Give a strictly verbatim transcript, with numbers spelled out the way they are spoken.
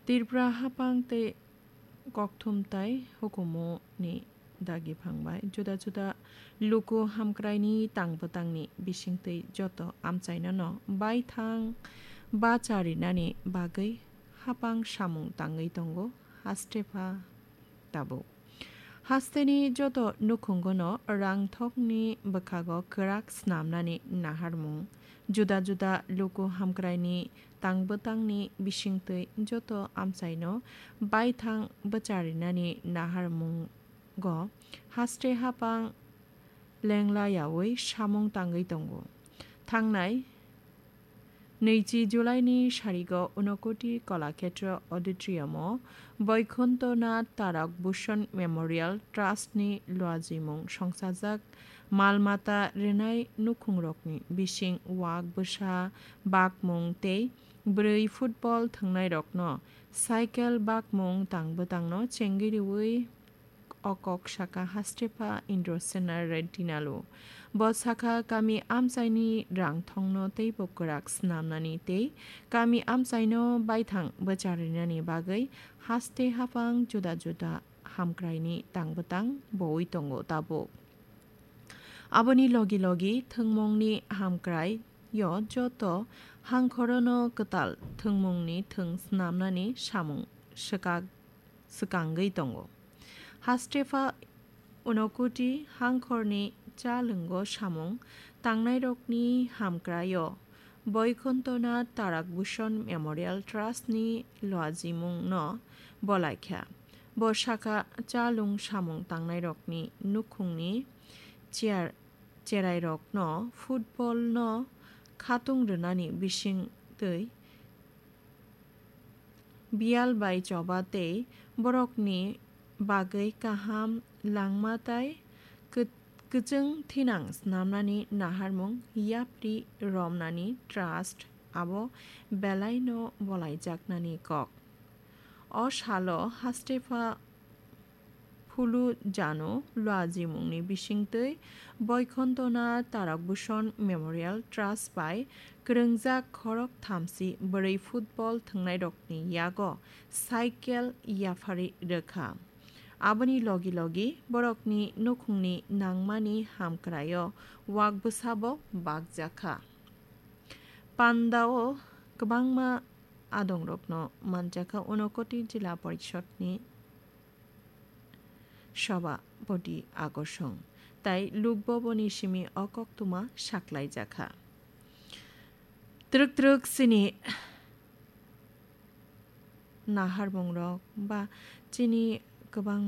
Tripura hapang tei kokthum tai hukumu ni dagi phang bai juda juda luku hamkrai ni tang bwtang ni bising twi joto amchai no no baithang bacha rinani bagwi hapang samung tangwi tongo haste pha tabuk. Haste ni joto nukhungo no rang thok ni bwkhago kwrak snam nani naharmung juda juda luku hamkrai ni tang bwtang ni bising twi joto amchai no baithang bacha rinani naharmung go haste hapang lengla yaui samung tangwi tongo. Thangnai nwichi July ni sarigo Unakoti Kalakshetra Auditorium o Boikhonto Nath Tarak Bhushan Memorial Trust ni luajimung songsajak mal mata rwnai nukhungrokni bising wak bwsa bakmung tei bwrwi football thwngnairokno cycle bakmung tang bwtangno chengwi rwui o kok saka hastepha Indrasena Reddy Nalu. Bo saka kami amchaini rang thongno teibo kwrak snamnani tei kami amchaino baithang bwcharinani bagwi haste haphang juda juda hamkraini tang bwtang boui tongo tabuk. Aboni logi logi thwngmungni hamkrai yo joto hangkhorono kwtal thwngmungni thwng snamnani samung swkak swkangwi tongo. Hastepha Unakoti hangkhorni cha lwngo samung tangnairokni hamkraio Boikhonto Nath Tarak Bhushan Memorial Trust ni luajimungno bolaikha. Bo saka cha lwng samung tangnairokni nukhungni chair cherairokno football no khatung rwnani bising twi biyal bai choba tei borokni bagwi kaham langma tai kw-, kwchwng thinang snamnani naharmung yapri romnani trust abo belaino bolaijaknani kok. O salo hastepha Phulu Jano luajimungni bisingtwi Boikhonto Nath Tarak Bhushan Memorial Trust bai kwrwngjak khorok thamsi bwrwi football thwngnairokni yago cycle yaphari rwkha. Aboni logi logi borokni nukhungni nangmani hamkraio wak bwsabo bakjakha. Pandao kwbangma adongrokno manjakha Unakoti Jila Porishodni Sabhapati Akorsong tai Lok Bhavanni simi o koktwma saklaijakha. Twrwk twrwk chini naharmungrok ba chini kwbangma